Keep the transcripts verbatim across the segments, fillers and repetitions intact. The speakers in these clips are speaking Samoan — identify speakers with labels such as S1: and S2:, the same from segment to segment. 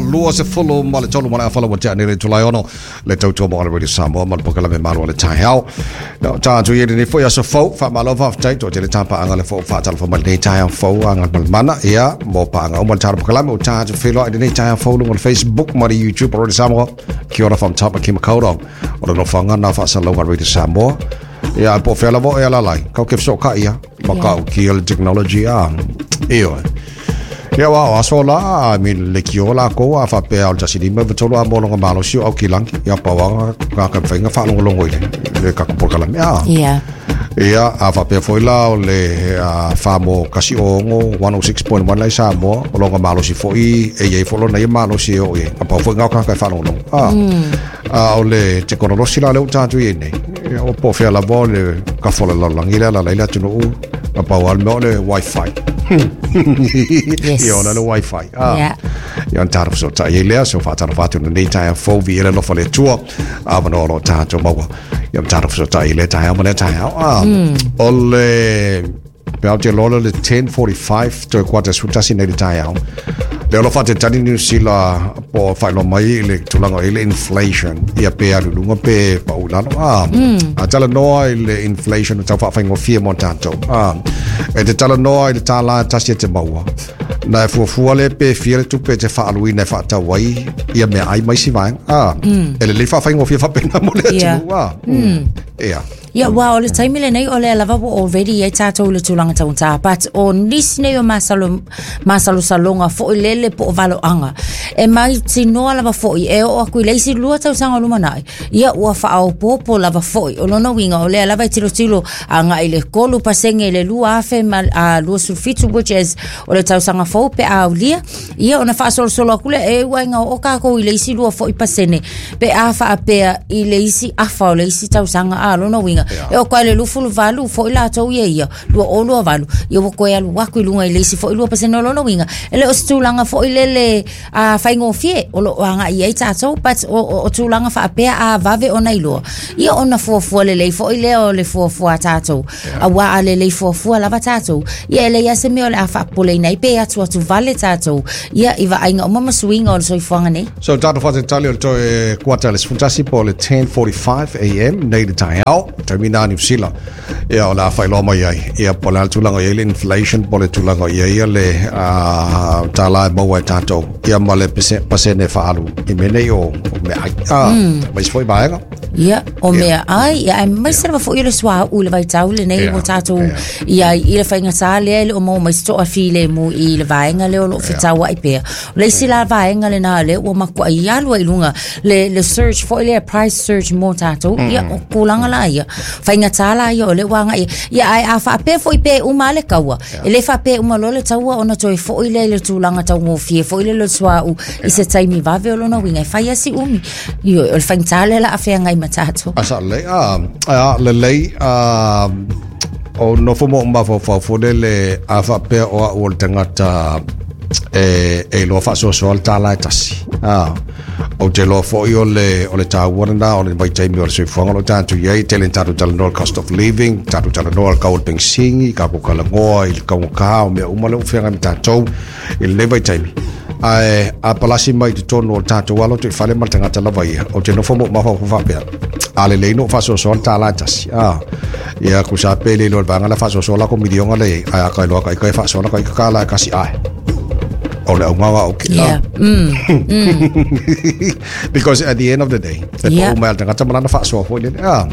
S1: Lua se fulu ma le tolu ma le afala wa tea nele tulai ono le tautua mo ala Radio Samoa ma le pokalame malo le taeao. No, tātou i lenei foi aso fou, whaamalo whaaftai, to tele tāpaanga le fo whaatalofa mai lenei taeao fou a ngā mana, ia, mo paanga uma le tātou pokalame o tātou wheloa i lenei taeao fou lunga le Facebook ma le YouTube o Radio Samoa. Kia ora from top ki makaurau. O le nofanga nā whaasalauga Radio Samoa. Ia, po whea lavo e alalai. Kau ke whiso ka ia. Makau ki o le technology a. Iyo. Ia wa o aso la, I mean, le ki o la ko a whapea o le tasi lima vatolo a molonga malo si o au ki langi. Ia pawanga ka ka whainga whaalongolongo i le, le kakupolkalame. A.
S2: Ia.
S1: Ia, a whapea foi la o le a, whamo kasi o ongo one oh six point one lai Samoa, o longa malo si foi, e iei fo lona ia malo si o ie. A pau foi ngau kaka e whaalongolongo. A, a o le te konolosi la le o tātu i nei. Ia, o po whea lava o le kafola lalangi le ala leila tunu u. A pau al mea o le wifi.
S2: Yes.
S1: Ia, o le wifi. Ah.
S2: Yeah.
S1: Ia, on tātou so tai lea, so whātaro whātu na nei taia fou vi ele lofa le tua. A mano o tātou maua. Ia, on tātou so tai le taia ma le taia. Ah. O le pe au te lola le ten forty-five toe quarter sutasi nei le taia. Le olo whate tani New Zealand po whailo mai i le tulaga i le inflation. Ia pe alulunga pe paulano. Ah. A tala noa i le inflation o tau whaawhaingofia mo tātou. Ah. E te tala noa i le tāla tasi e te maua. Na e fuafua le pe fia le tupe te whaaluina e whaatau ai ia mea ai mai si vaenga. Ah. E le le whaawhaingofia whapena mo le
S2: Yeah.
S1: atunu. Ah. Mm. Ia.
S2: Ia, wa, o le taimi lenei o le lava ua already ai tātou le tulaga taugata, but o nisi nei o masalo, masalosaloga fo'i lele po o valoaga. E mautinoa lava fo'i e oo aku i le isi lua tausaga o lumanai. Ia, ua faaopoopo lava fo'i. O lona uiga o lea lava e tilotilo aga'i le kolu pasege i le lua afe ma a lua sulufitu, which is o le tausaga fou pe a aulia. Ia, ona faasolosolo aku lea e uaiga oo kākou i le isi lua fo'i pasene pe a faapea i le isi afa o le isi tausaga a lona uiga. E o koe le lufulu valu fo'i latou ia ia, lua o lua valu. Ia ua koe alu aku i luga i le isi fo'i lua pasene o lona uiga. E le o se tulaga fo'i lele a faigofie o loo aga'i ai tatou, but o, o, o tulaga faapea a vave ona iloa. Ia ona fuafua lelei fo'i lea o le fuafua a tatou. Auā a lelei fuafua lava tatou. Ia e leai a se mea o le a faapopoleina ai pe atu atu vale tatou. Ia i vaaiga uma ma suiga o le soifuaga nei.
S1: So tātou whatetali o le toe kuata le sefutasi po le ten forty-five a m nei le taeao. Taimina New Zealand. Ia o le a whailoa mai ai. Ia po le tulaga i le inflation, po le tulaga i ai le uh, tāla e maua e tātou. Ia ma le pasene whaalu. I menei o, o mea ai. Ah, mm. Mais foi vaega.
S2: Ia, o mea ai. Ia, ai mai se lava foi o le sua u le vaitau le nei o tātou. Ia, i le whaingatā lea i le o mau mai se toa file mu i le vaenga lea o loo whitau ai pea. O le isi la vaenga le nā le ua makua i alua i lunga. Le, le search foi lea price search mo tātou. Ia, o kūlanga la ia. Whaingatā la ia o le wanga ia. Ia, ai a whaapea foi pe uma le kaua. E le whaapea uma lo le taua ona toi foi le le tūlanga tau ngofie foi le le sua u i se taimi vave o lona winga. E whai asi umi. Io, o le whaingatā le la awhea ngai matato.
S1: Asa le, a, a, le lei, a, o nofo mo mawhawhau le le a whapea o a o le tangata e, e loa whaasoasoa le tāla e tasi. A, o te loa foi o le, o le tāua na, o le vaitaimi o le soifuaga o tātou iai, tele tātou talanoa le cost of living, tātou talanoa le kau o le pensingi, ka ko kalangoa, i le kaungaka, o mea uma le uwhenga me tātou, i le vaitaimi. Ae, a palasi mai te tonu o tātou alo te whale ma le tangata lava ia, o te nofo mo mawhawhau whapea. A le leino whaasoasoa le tāla e tasi. A, ia kusa pele lo le vanga le whaasoasoa la ko milionga le, ai a kai loa kai kai whaasoa la kai kakala e kasi ai. O le aungaga o ke.
S2: Yeah. Mm. Mm.
S1: Because at the end of the day, e
S2: Yeah.
S1: po umea le tangata malana whaasoa foi le. Ah.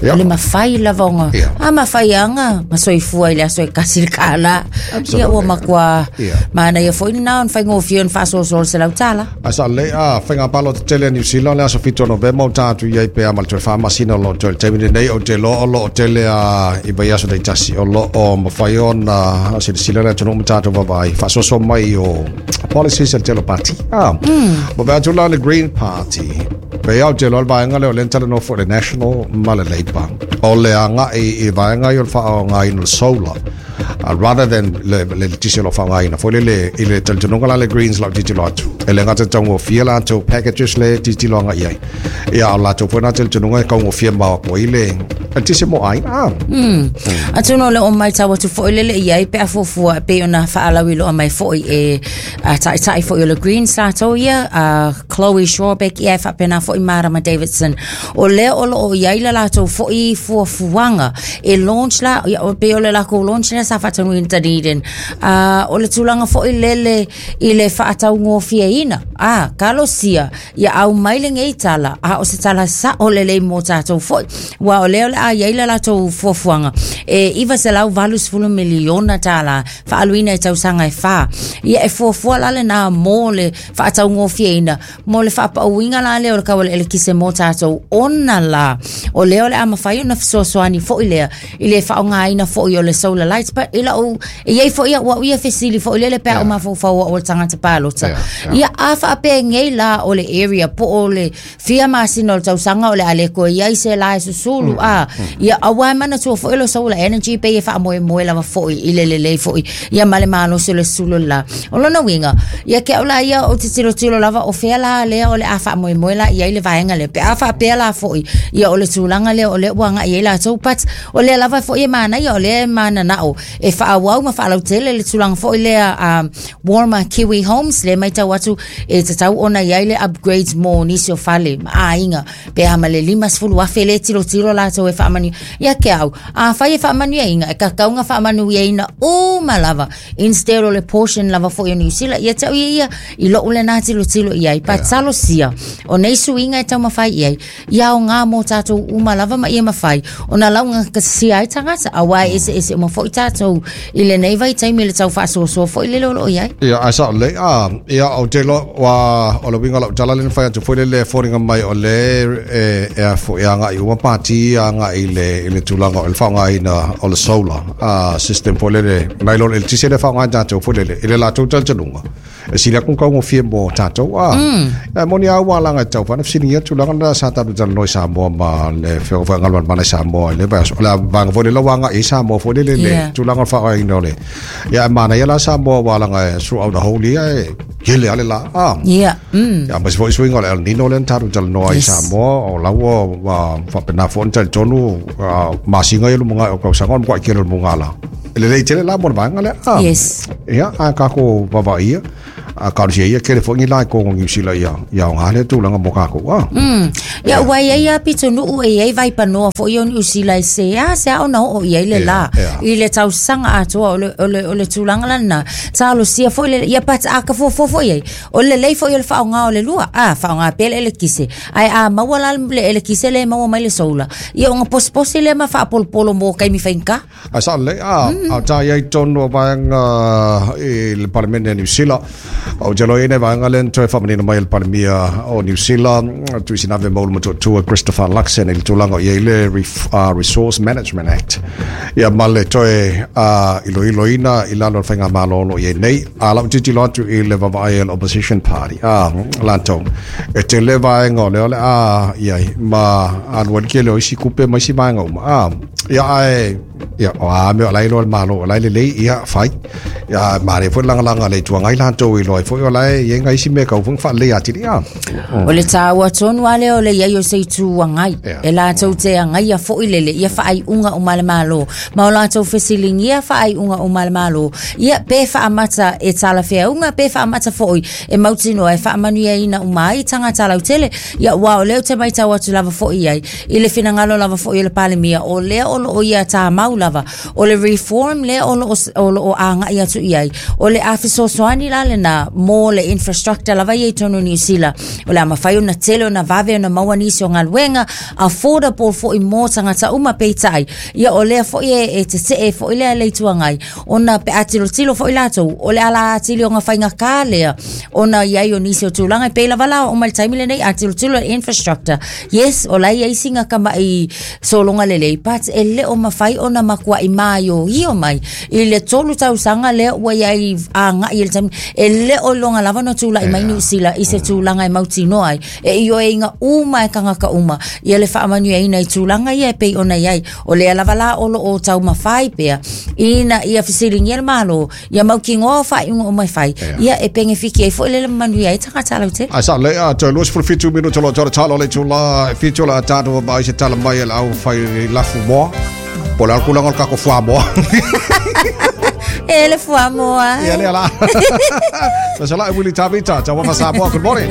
S1: Yeah.
S2: O le mawhai lava onga.
S1: Yeah.
S2: A mawhai anga, masoifua i le aso e kasi le kāla. Ia ua makua.
S1: Yeah.
S2: Mana ia foi nā on whaingofia on whaasosol se lau tāla.
S1: Asa le, a, whainga palo te tele New Zealand, le aso whitu o Novemba o tātu iai pe a ma le toe whamasina o lo toe le taimi nei o te lo o lo o tele a i vai aso dei tasi o lo o mawhai ona silasila le atunu ma tātou vavai whaasoso mai o policies el tele party. Ah, mm. Ma atu la le Green Party. Pe au te lo le vaenga le o le tele no for the National ma le Labour. O le anga i, i vaenga i o le whaonga i no le solar. Uh, rather than le le tisi lo whaonga ina. Fo le le i le talitonunga la le Greens la titi lo atu. E le gata taugofie latou packages le tilotilo agai ai ia o latou foi na talitonuga e taugofie ma ko i le eletise mo aiga.
S2: Mm. Atonu o le o matau atu foi lele i ai pe a fuafua e pei ona faalauiloa mai foi e uh, taitai foi o le Greens latou ia uh, Chloe Swarbrick ia e faapena foi Marama Davidson o lea o loo i ai le latou foi fuafuaga e launch la ia, o pei o le lakou launch lea sa faataunuina Dunedin uh, o le tulaga foi lele i le faataugofieina a kalosia ia au mai lenei tala a o se tala sao lelei mo tatou foi ua o lea o le a iai le latou fuafuaga e iva selau valu sefulu miliona tala faaluina i tausaga e fā ia e fuafua la lena mo le faataugofieina mo le faapauiga la lea o le kau o le elekise mo tatou ona la o lea o le a mafai ona fesoasoani foi lea i le faaaogaina foi o le solar lights pa i lau e iai foi ua ia fesili foi lele pe a o mafaufau o le tagata palota
S1: Yeah, yeah.
S2: ia a faapegei la o le area po o le fia masina o le tausaga o le a le koe iai se la e susulu a ia aua e manatua foi le solar energy pe e faamoemoe lava foi i le lelei foi ia ma le malosi o le susulu la o lona uiga ia ke au la ia o te tilotilo lava o fea la lea o le a faamoemoe la i ai le vaega lea pe a faapea la foi ia o le tulaga lea o lea ua agai ai latou but o lea lava foi e manaia o lea e mananao e faaauau ma faalautele le tulaga foi lea um, Warmer Kiwi Homes le matau atu e tatau ona iai le upgrades mo nisi o fale ma aiga pe a ma le lima sefulu afe le tilotilo latou e faamanu ia ke au a fai e faamanuiaina e kakauga faamanuiaina uma lava instead o le portion lava foi o New Zealand ia tau ia ia i lou lena tilotilo i ai patalosia o nei suiga e taumafai i ai ia aoga mo tatou uma lava ma ia mafai ona laugatasia ai tagata auā e eseese uma foi tatou i lenei vaitaimi le tau faasoasoa foi lele o loo i ai.
S1: Ia ai sa le a ia o te lo wa o le winga lau tala le whai atu foi le le fōringa mai o le e e a fo e anga i uma pāti anga i le i le tulaga o le whaongaina o le solar a system foi le le nai lo le tise le whaongai tātou foi le le i le latou talitonuga e sili aku kaugofie mo tātou a e moni au alanga e tau whana whisilingia tulaga na sa tātou talanoa i Samoa ma le whio wha ngalwan mana i Samoa i le vai o le vanga foi le lawanga i Samoa foi le le le
S2: Yeah.
S1: tulaga o le whaongaina o le ia e mana ia la Samoa walanga e throughout the whole year e kele ale la a
S2: Ia mm.
S1: ia ma se foi suiga o le El Nino le na tātou talanoa i
S2: Yes.
S1: Samoa o laua wa whapena fo talitonu masinga i lumunga o kausaga o mkwa i kele lumunga la e lelei tele la mo le vaega lea a
S2: Yes.
S1: ia a kako vavaia a karusia ia kele foi ni lai kongo New Zealand ia ia o ngā le tulaga mo kako a
S2: Mm. Ia ua ia ia pitonuu e iai vaipanoa foi o Niu Sila e se a se a ona oo i ai le
S1: Ia,
S2: la
S1: ia.
S2: i le tausaga atoa o le, o le, o le tulaga lana talosia foi le ia pata a ka fuafua foi ai o le lelei foi o le faaaoga o le lua a faaaoga pea le elekise ae a maua la le elekise le maua mai le solar ia ona posiposi lea ma faapolopolo mo kaimi faigata.
S1: A sa le a a ta ia i tonu o vaega i le Palemene New Zealand o te loi nei vaega le toe whamanino mai le Palemia o New Zealand Tuisinave Maulumatua Christopher Luxon i le tulaga o iai le Ref, uh, Resource Management Act ia ma le toe uh, iloiloina i lalo o le faigamalo o loo iai nei a lau tilotilo atu i le vaavaai a le Opposition Party a latou e tele vaega o lea o le a iai ma alu ai le kele o isi kupe ma isi vaega uma a ia ae ia o a mea o lai loa le malo o lai lelei ia fai ia mare foi lagalaga le Itu Agai latou i loa ai foi o lai ia ngai isi mea kau foi faalelei atili a
S2: O le tāua tonu a lea o le iai o se itu agai.
S1: Ia.
S2: E latou te agaia foi lele ia faaiuga o ma le malo. Ma o latou fesiligia faaiuga o ma le malo. Ia pe faamata e talafeauga pe faamata foi e mautinoa e faamanuiaina uma ai tagata lautele. Ia ua o lea ou te matau atu lava foi ai. I le finagalo lava foi o le Palemia o lea o loo ia tamau lava. O le reform lea o loo, o loo agai atu i ai. O le a fesoasoani la lena mo le infrastructure lava ia i tonu New Zealand. O le a mafai ona tele ona vave ona maua nisi o galuega affordable foi mo tagata uma peitai. Ia o lea foi e, e tetee foi lea le Itu Agai. Ona pe a tilotilo foi latou o le ala atili o faigata lea ona iai o nisi o tulaga e pei lava la o mai le taimi lenei a tilotilo le infrastructure. Yes, o la iai singa kama'i sologa lelei but e le o mafai ona makua'i maioio mai i le tolu tausaga lea ua iai aga'i i le taimi e le o iloga lava ona tula'i mai Niusila i se tulaga e mautinoa ai e ioeina uma e tagata uma ia le faamanuiaina i tulaga ia e pei ona iai. O lea lava la o loo taumafai pea ina ia fesiligia le Malo ia mautinoa o faaiuga uma e fai ia e penefiki ai foi le manuia ai tagata lautele.
S1: Ai sa le a toe lua sefulu fitu minute o lo talo le tula fitu la tatou mai se tala mai le au fai lafu moa po le alukulaga o le kako fuamoa.
S2: E le fuamoa.
S1: Ia lea la. Sala Willy Tavita, Tauafa Samoa, good morning.